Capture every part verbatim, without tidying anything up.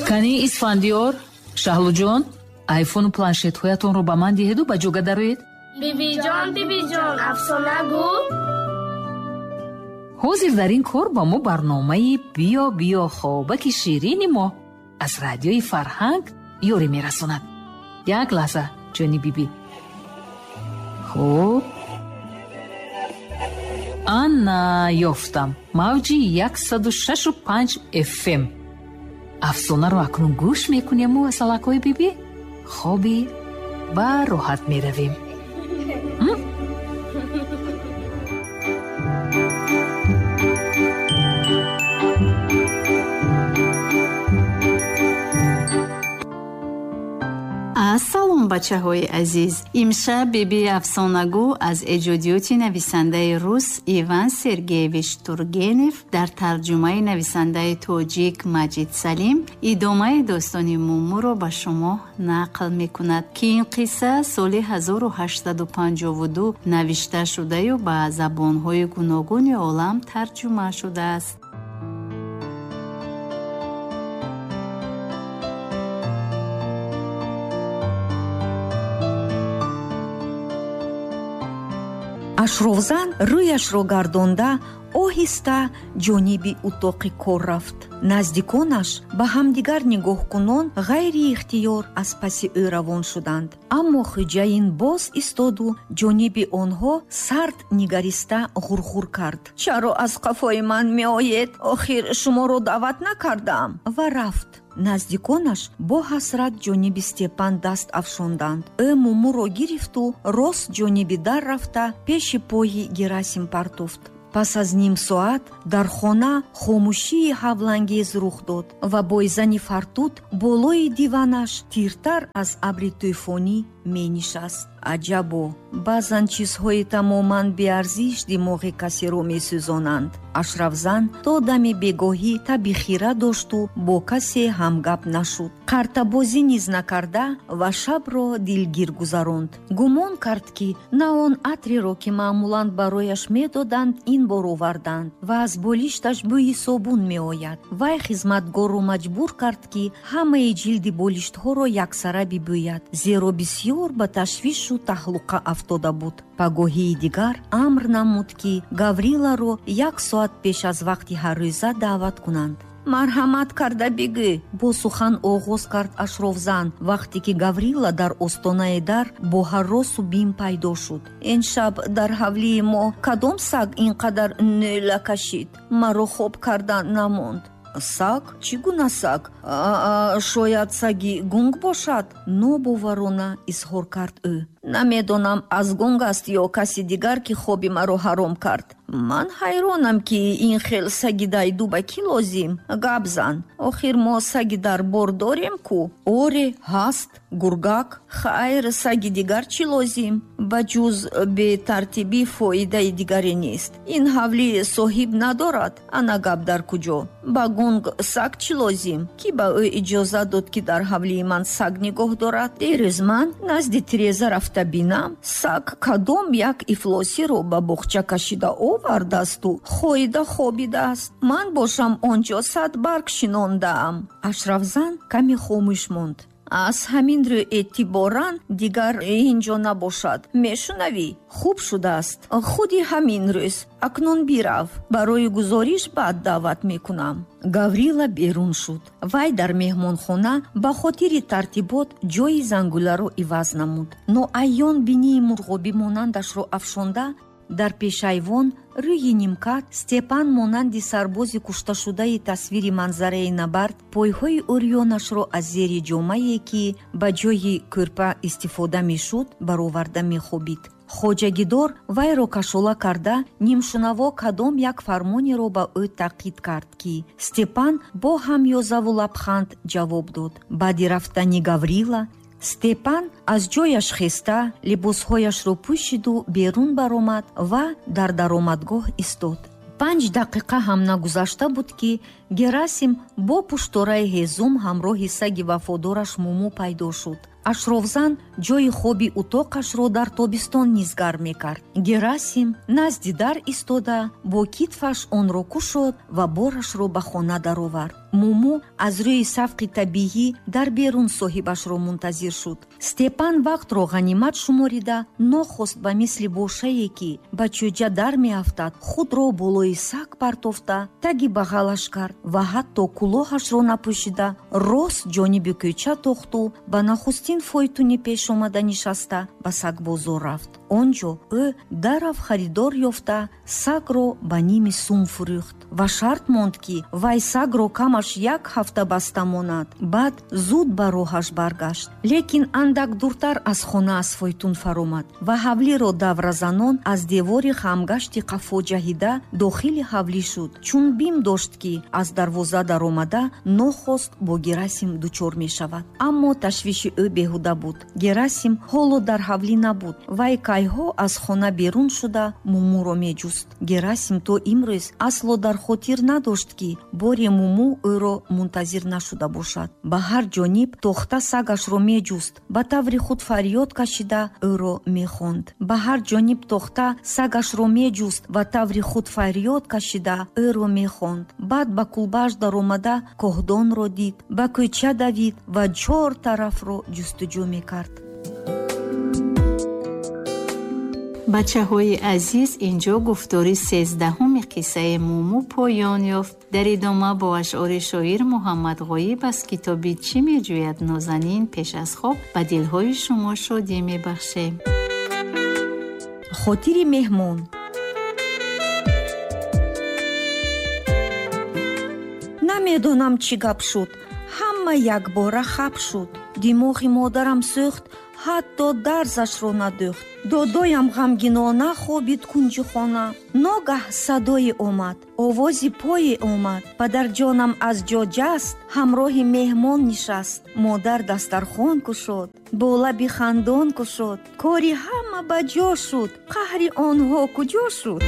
Кани Исфандиёр, Шаҳлуҷон, айфону планшетҳоятонро ба ман диҳеду ба ҷога дароед. Бибиҷон, бибиҷон, афсона гӯ. Ҳозир дар ин кор ба мо барномаи «Биё, биё, хобаки ширини мо» аз радиои Фарҳанг ёрӣ мерасонад. Як лаҳза, ҷони биби. Хуб, ана ёфтам. Мавҷи яксаду шашу панҷ F M. Афсонаро акнун гӯш мекунему асалакҳои биби хоби ба роҳат меравем. Ассалом, бачаҳои азиз. Имшаб биби афсонагӯ аз эҷодиёти нависандаи рус Иван Сергеевич Тургенев дар тарҷумаи нависандаи тоҷик Маҷид Салим идомаи достони Мумуро ба шумо нақл мекунад, ки ин қисса соли ҳазору ҳаштсаду панҷоҳу ду навишта шудаю ба забонҳои гуногуни олам тарҷума шудааст. Ашрофзан рӯяшро гардонда оҳиста ҷониби утоқи кор рафт. Наздиконаш ба ҳамдигар нигоҳкунон ғайриихтиёр аз паси ӯ равон шуданд. Аммо хӯҷаин боз истоду ҷониби онҳо сард нигариста ғурғур кард. Чаро аз қафои ман меоед? Охир шуморо даъват накардам. Ва рафт. Наздиконаш бо ҳасрат ҷониби Степан даст афшонданд. Ӯ Мумуро гирифту рост ҷониби дар рафта пеши пои Герасим партофт. Пас аз ним соат дар хона хомӯшии ҳавлангез рух дод ва бойзани фартут болои диванаш тиртар аз абри тӯфонӣ менишаст. Аҷабо, баъзан чизҳои тамоман беарзиш димоғи касеро месӯзонанд. Ашрафзан то дами бегоҳӣ таби хира дошту бо касе ҳамгап нашуд. Қартабозӣ низ накарда ва шабро дилгир гузаронд. Гумон кард, ки на он атреро, ки маъмулан барояш медоданд, ин бор оварданд ва аз болишташ бӯи собун меояд. Вай хизматгорро маҷбур кард, ки ҳамаи ҷилди болиштҳоро яксара бибӯяд, зеро бисёр ба ташвишу таҳлуқа афтода буд. Пагоҳии дигар амр намуд, ки Гавриларо як соат пеш аз вақти ҳаррӯза даъват кунанд. Марҳамат карда бигӯ, бо сухан оғоз кард Ашрофзан, вақте ки Гаврила дар остонаи дар бо ҳарросу бим пайдо шуд. Ин шаб дар ҳавлии мо кадом саг ин қадар нӯла кашид? Маро хоб кардан намонд. Саг? Чӣ гуна саг? Шояд саги гунг бошад? Нобоварона изҳор кард ӯ. Намедонам, аз гунг аст ё каси дигар, ки хоби маро ҳаром кард. Ман ҳайронам, ки ин хел саги дайду ба кӣ лозим? Гап зан. Охир мо саги дарбор дорем ку? Оре, ҳаст. Гургак. Хайр, саги дигар чӣ лозим? Ба ҷуз бетартибӣ фоидаи дигаре нест. Ин ҳавлӣ соҳиб надорад. Ана гап дар куҷо? Ба гунг саг чӣ лозим? Кӣ ба ӯ иҷоза дод, ки дар ҳавлии ман саг нигоҳ дорад? Дирӯз ман назди тиреза рафта бинам, саг кадом як ифлосиро ба боғча кашида овардасту хоида хобидааст. Ман бошам он ҷо сад барг шинондаам. Ашрафзан каме хомӯш монд. Аз ҳамин рӯ эътиборан дигар ин ҷо набошад. Мешунавӣ? Хуб шудааст. Худи ҳамин рӯз. Акнун бирав. Барои гузориш баъд даъват мекунам. Гаврила берун шуд. Вай дар меҳмонхона ба хотири тартибот ҷои зангуларо иваз намуд. Ноайён бинии мурғобӣ монандашро афшонда дар пешайвон рӯи нимкат Степан монанди сарбози кушташудаи тасвири манзараи набард пойҳои урёнашро аз зери ҷомае, ки ба ҷои кӯрпа истифода мешуд, бароварда мехобид. Хоҷагидор вайро кашола карда нимшунаво кадом як фармонеро ба ӯ таъқид кард, ки Степан бо ҳамёзаву лабханд ҷавоб дод. Баъди рафтани Гаврила Степан аз ҷояш хеста либосҳояшро пӯшиду берун баромад ва дар даромадгоҳ истод. Панҷ дақиқа ҳам нагузашта буд, ки Герасим бо пуштораи ҳезум ҳамроҳи саги вафодораш Муму пайдо шуд. Ашрофзан ҷойи хоби утоқашро дар тобистон низ гарм мекард. Герасим назди дар истода бо китфаш онро кушод ва борашро ба хона даровард. Муму аз рӯи савқи табиӣ дар берун соҳибашро мунтазир шуд. Степан вақтро ғанимат шуморида нохост ба мисли бошае, ки ба чӯҷа дар меафтад, худро болои саг партофта таги бағалаш кард ва ҳатто кулоҳашро напӯшида рост ҷониби кӯча тохту ба нахустин фойтуни пешомада нишаста ба сагбозор рафт. Он ҷо ӯ дарав харидор ёфта сагро ба ними сум фурӯхт ва шарт монд, ки вай сагро камаш як ҳафта баста монад. Баъд зуд ба роҳаш баргашт, лекин андак дуртар аз хона аз фойтун фаромад ва ҳавлиро давразанон аз девори хамгашти қафо ҷаҳида дохили ҳавлӣ шуд, чун бим дошт, ки аз дарвоза даромада нохост бо Герасим дучор мешавад. Аммо ташвиши ӯ беҳуда буд. Герасим ҳоло дар ҳавлӣ набуд. Вай кайҳо аз хона берун шуда Мумуро меҷуст. Герасим то имрӯз асло дар хотир надошт, ки боре Муму ӯро мунтазир нашуда бошад. Ба ҳар ҷониб тохта сагашро меҷуст, ба таври худ фарёд кашида ӯро мехонд. Ба ҳар ҷониб тохта сагашро меҷуст ва таври худ фарёд кашида ӯро мехонд. Баъд ба кулбааш даромада коҳдонро дид, ба кӯча давид ва чор тарафро ҷустуҷӯ мекард. Бачаҳои азиз, инҷо гуфтори сездаҳуми қиссаи Муму поён ёфт. Дар идома бо ашъори шоир Муҳаммад Ғоиб аз китоби «Чӣ меҷӯяд нозанин» пеш аз хоб ба дилҳои шумо шодӣ мебахшем. Хотири меҳмон. Намедонам чӣ гап шуд, ҳама якбора хап шуд. Димоғи модарам сӯхт, ҳатто дарзашро надӯхт. Додоям ғамгинона хобид кунҷи хона. Ногаҳ садое омад, овози пое омад. Падарҷонам аз ҷо ҷаст, ҳамроҳи меҳмон нишаст. Модар дастархон кушод, бо лаби хандон кушод. Кори ҳама ба ҷо шуд, қаҳри онҳо куҷо шуд?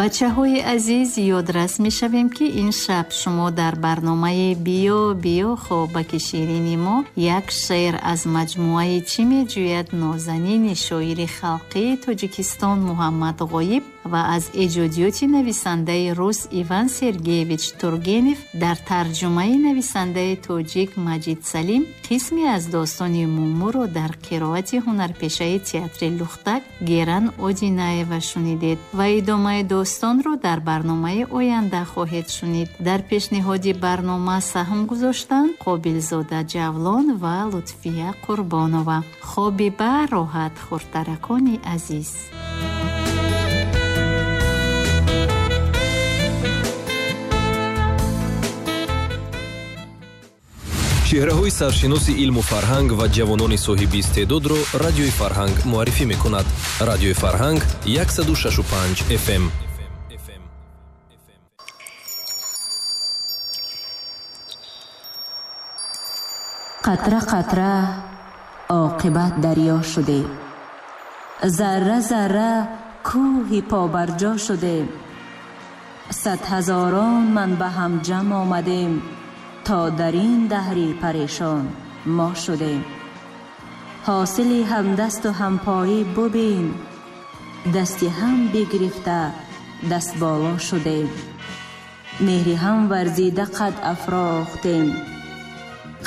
Бачаҳои азиз, ёдрас мешавем, ки ин шаб шумо дар барномаи «Биё, биё хобаки ширини мо» як шеър аз маҷмӯаи «Чӣ меҷӯяд нозанини» шоири халқии Тоҷикистон Муҳаммад Ғоиб ва аз эҷодиёти нависандаи рус Иван Сергеевич Тургенев дар тарҷумаи нависандаи тоҷик Маҷид Салим қисме аз достони Мумуро дар қироати ҳунарпешаи театри Лухтак Геран Одинаева шунидед ва идомаи достонро дар барномаи оянда хоҳед шунид. Дар пешниҳоди барнома саҳм гузоштанд Қобилзода Ҷавлон ва Лутфия Қурбонова. Хоби ба роҳат, хурдтаракони азиз. Чеҳраҳои саршиноси илму фарҳанг ва ҷавонони соҳиби истеъдодро Радиои Фарҳанг муаррифӣ мекунад. Радиои Фарҳанг яксаду шашу панҷ эф эм. Қатра қатра оқибат дарё шудем, зарра зарра кӯҳи побарҷо шудем, сад ҳазорон ман ба ҳам ҷамъ омадем, то дар ин даҳри парешон мо шудем. Ҳосили ҳамдасту ҳампоӣ бубин, дасти ҳам бигирифта даст боло шудем, меҳри ҳам варзида қад афрохтем,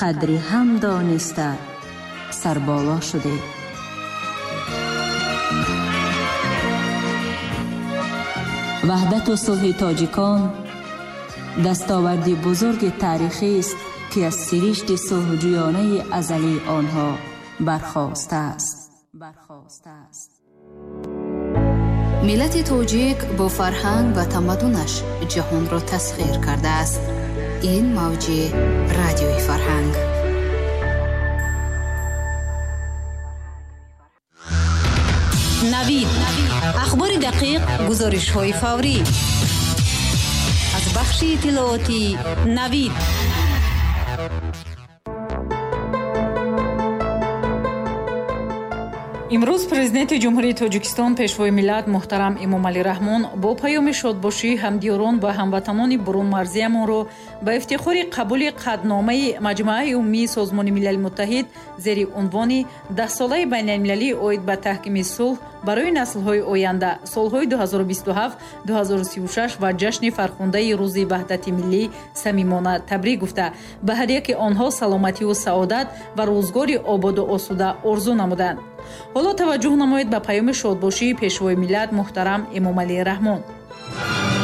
қадри ҳам дониста сарболо шудем. Ваҳдату сулҳи тоҷикон дастоварди бузурги таърихист, ки аз сиришти сулҳҷӯёнаи азалии онҳо бархостааст. Миллати тоҷик бо фарҳанг ва тамаддунаш ҷаҳонро тасхир кардааст. Ин мавҷи Радиои Фарҳанг. Навид. Ахбори дақиқ, гузоришҳои фаврӣ. Аз бахши иттилоотии Навид. Имрӯз Президенти Ҷумҳурии Тоҷикистон, Пешвои миллат муҳтарам Эмомалӣ Раҳмон бо паёми шодбошӣ ҳамдиёрон ва ҳамватанони бурунмарзиямонро ба ифтихори қабули қатъномаи Маҷмааи Умумии Созмони Милали Муттаҳид зери унвони Даҳсолаи байналмилалӣ оид ба таҳкими сулҳ барои наслҳои оянда солҳои ду ҳазору бисту ҳафт ду ҳазору сию шаш ва ҷашни фархундаи Рӯзи Ваҳдати Миллӣ самимона табрик гуфта, ба ҳар яке онҳо саломативу саодат ва рӯзгори ободу осуда орзу намуданд. Ҳоло таваҷҷӯҳ намоед ба паёми шодбошии Пешвои миллат муҳтарам Эмомалӣ Раҳмон.